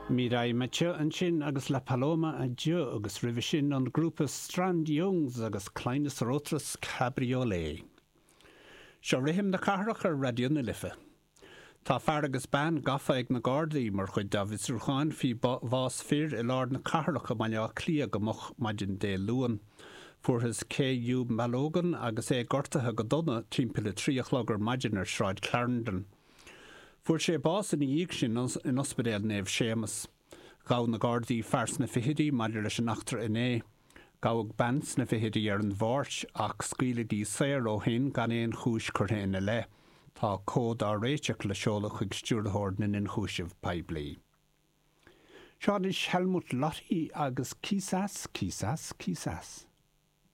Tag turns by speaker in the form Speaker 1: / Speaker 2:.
Speaker 1: Mireille Mathieu ansin agus La Paloma à Dieu agus roimhe sin an grúpa Strand Youngs agus Kleines Rotes Cabriolet. Seo rithim na cathrach ar Raidió na Life. Tá fear agus bean gafa ag na Gardaí mar chuid dá bhfiosrúcháin faoi bhás fir i lár na cathrach i mBaile Átha Cliath go moch maidin Dé Luain. Fuarthas K.U. Balogun agus é gortaithe go dona timpeall a 3 a chlog ar maidin ar Shráid Clarendon. Fuair sé bás ina dhiaidh sin in Ospidéal Naomh Séamas. Ghabh na Gardaí fear sna fichidí maidir leis an eachtra inné. Gabhadh bean sna fichidí ar an Mháirt ach scaoileadh í saor ó shin gan aon chúis curtha ina leith. Tá comhad á réiteach le seoladh chuig Stiúrthóir na nIonchúiseamh Poiblí. Seo anois Helmut Lotti agus Quizás, Quizás, Quizás.